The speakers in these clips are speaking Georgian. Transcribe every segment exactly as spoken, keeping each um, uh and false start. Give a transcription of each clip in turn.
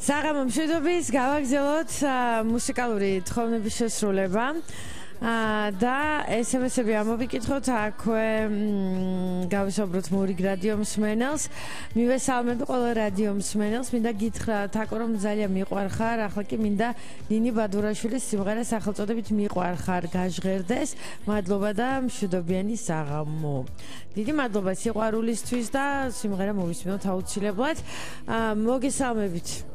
საღამო მშვიდობის გავაგზავნოთ მუსიკალური თხოვნების შესრულება და ესემესები ამოვიკითხოთ აქვე გავისაუბროთ მურიგ რადიო მსმენელს მივესალმებ ყველა რადიო მსმენელს მინდა გითხრათ აკო რომ ძალიან მიყვარხარ ახლა კი მინდა ნინი ბადურაშვილის სიმღერა სახელწოდებით მიყვარხარ გაჟღერდეს მადლობა და მშვიდობიანი საღამო დიდი მადლობა სიყვარულისთვის და სიმღერა მოვისმინოთ აუცილებლად მოგესალმებით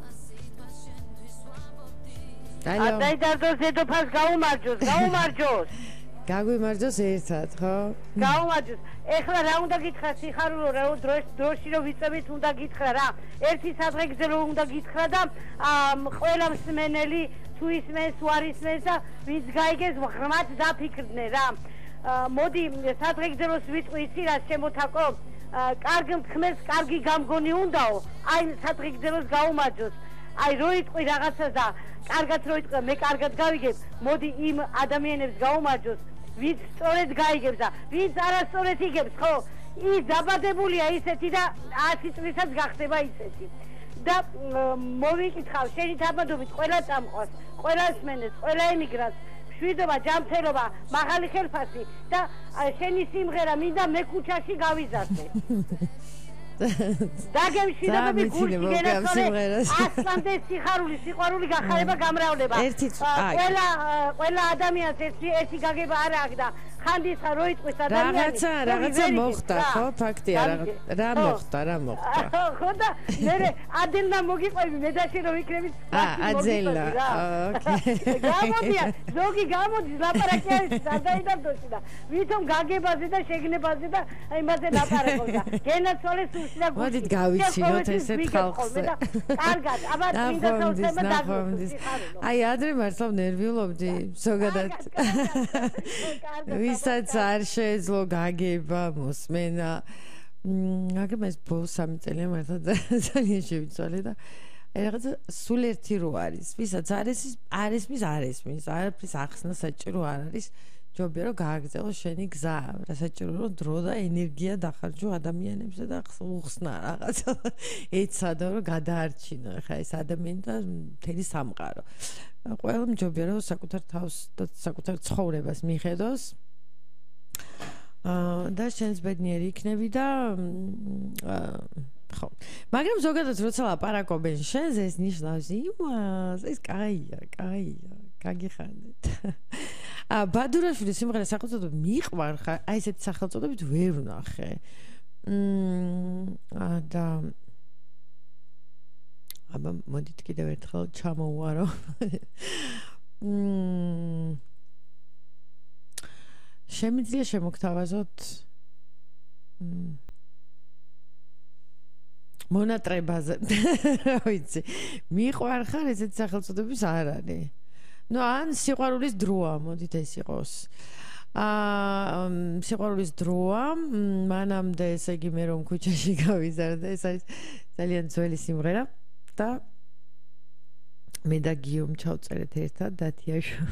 Allo. Dai dardოს დედოფალს გაუმარჯოს, გაუმარჯოს. გაგვიმარჯოს ერთად, ხო? გაუმარჯოს. ეხლა რა უნდა გითხრა სიხარულო, რა დროში რომ ვიწევით უნდა გითხრა რა. ერთი სადღეგრძე რომ უნდა გითხრა და ყველა მსმენელი თუ ისმენს, თუ არ ისმენს და ვინც გაიგეს ღრმად დაფიქრდნენ რა. მოდი სადღეგრძე როს ვიწვი იცი რა შემოთაკო. კარგ მთქმელს კარგი გამგონი უნდაო. აი სადღეგრძე როს გაუმარჯოს. აი რო იტყვი რაღაცას და კარგად რო იტყვი მე კარგად გავიგებ მოდი იმ ადამიანებს გაუმარჯოს ვინც სწორედ გაიგებს და ვინც არასწორად იგებს ხო ის დაბადებულია ისეთი და ათი წლისაც გახდება ისეთი და მოვიკითხავ შენი თამადობით ყველა წამყვას ყველა სმენელს ყველა ემიგრანტს მშვიდობა ჯანმრთელობა მაღალი ხელფასი და შენი სიმღერა მინდა მე ქუჩაში გავიზარდე დაგემში და მე გულში გენაცვალე ასლამდე სიხარული სიყვარული გახარება გამრავლება ყველა ყველა ადამიანს ერთი ერთი გაგება არ აქვს და ხანდისა რო იტყვის ადამიანი რაღაცა რაღაცა მოხდა ხო ფაქტია რა მოხდა რა მოხდა ხო და მე ადელნა მოგიყვები მე და შენ რომ ვიქნებით აძელა ოკეი გამოდია ზოგი გამოდის ლაპარაკი არის სადაიდაბდოში და ვითომ გაგებაზე და შეგნებაზე და იმაზე ლაპარაკობს და გენაცვალე მოდით გავიცინოთ ესეთ ხალხს კარგად აბა მინდა თავსება დაგვიწოს აი ადრე მართლა ნერვიულობდი ზოგადად ვისაც არ შეეძლო გაგება მოსმენა მაგრამ ეს ბოლო სამი წელია მართლა ძალიან შევიცვალე და აი რაღაცა სულ ერთი რო არის ვისაც არის არ ესმის არ ესმის არაფრის ახსნა საჭირო არ არის ჯობია რომ გააგრძელო შენი გზა რა საჭირო რომ დრო და ენერგია დახარჯო ადამიანებზე და უხსნა რაღაცა ეცადო რომ გადაარჩინო ხა ეს ადამიანი და მთელი სამყარო ყველა ჯობია რომ საკუთარ თავს და საკუთარ ცხოვრებას მიხედოს და შენს ბედნიერი იქნები და ხო მაგრამ ზოგადად როცა ლაპარაკობენ შენზე ეს ნიშნავს იმას ეს კაია კაია გაგიხარდეთ ა ბადურაშვილის სიმღერა სახელწოდებით მიყვარხარ აი ესეთ სახელწოდებით ვერ ვნახე მ და აბა მოდით კიდევ ერთხელ ჩამოვარო მ შემიძლია შემოგთავაზოთ მონატრებაზე რა ვიცი მიყვარხარ ესეთ სახელწოდების არ არის ну ან სიყვარულის დროა მოდით ეს იყოს აა სიყვარულის დროა მანამდე ესე იგი მე რომ ქუჩაში გავიზარდე ეს არის ძალიან ძველი სიმღერა და მე და გიომ ჩავწერეთ ერთად დათიაშო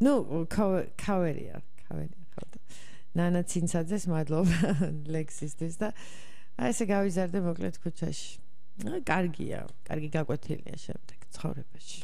ну კავერია კავერია ხო და ნანა ცინცაძეს მადლობა ლექსისთვის და აი ესე გავიზარდე მოკლედ ქუჩაში კარგია კარგი გაკვეთილია შემდეგ ცხოვრებაში